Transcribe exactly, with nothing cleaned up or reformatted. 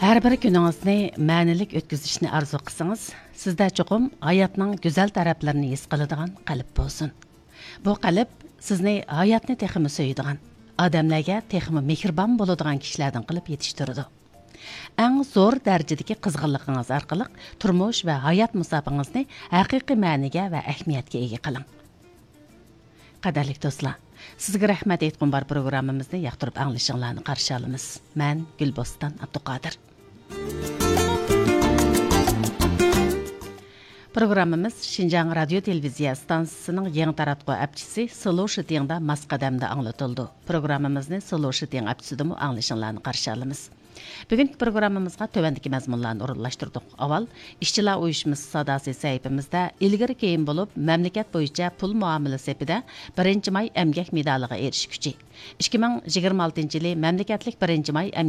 ھەر بىر كۈنىڭىزنى مەنىلىك ئۆتكۈزۈشنى ئارزۇ قىلسىڭىز، سىزدە چوقۇم ھاياتنىڭ گۈزەل تەرەپلىرىنى ھېس قىلىدىغان قەلب بولسۇن. بۇ قەلب سىزنى ھاياتنى تېخىمۇ سۆيىدىغان، ئادەملەرگە تېخىمۇ مېھرىبان بولىدىغان كىشىلەردىن قىلىپ يېتىشتۈرىدۇ. ئەڭ زور دەرىجىدىكى قىزغىنلىقىڭىز ئارقىلىق تۇرمۇش ۋە ھايات مۇساپىڭىزنى ھەقىقىي مەنىگە ۋە ئەھمىيەتكە ئىگە قىلىڭ. قەدىرلىك دوستلار، سىزگە رەھمەت ئېيتقۇم بار پروگراممىمىزنى ياقتۇرۇپ ئاڭلىشىڭلارنى قارشى ئالىمىز. مەن گۈلبوستان ئابدۇقادىر. پروگراممىمىز شىنجاڭ رادىيو تېلېۋىزىيە ئىستانسىسىنىڭ يېڭى تاراتقۇ ئەپچىسى سلو شىتىڭدا ماس قەدەمدە ئاڭلىتىلىدۇ. پروگراممىمىزنى سلو شىتىڭ ئەپچىسىدىمۇ ئاڭلىشىڭلارنى قارشى ئالىمىز. بۈگۈنكى پروگراممىمىزغا تۆۋەندىكى مەزمۇنلارنى ئورۇنلاشتۇردۇق. ئاۋۋال، ئىشچىلار ئۇيۇشمىسى ساداسى سەھىپىمىزدە ئىلگىرى كېيىن بولۇپ مەملىكەت بويىچە پۇل مۇئامىلە سېپىدە بىرىنچى ماي ئەمگەك مېدالىغا ئېرىشكۈچى، ئىككى مىڭ يىگىرمە ئالتىنچى يىلى مەملىكەتلىك بىرىنچى ماي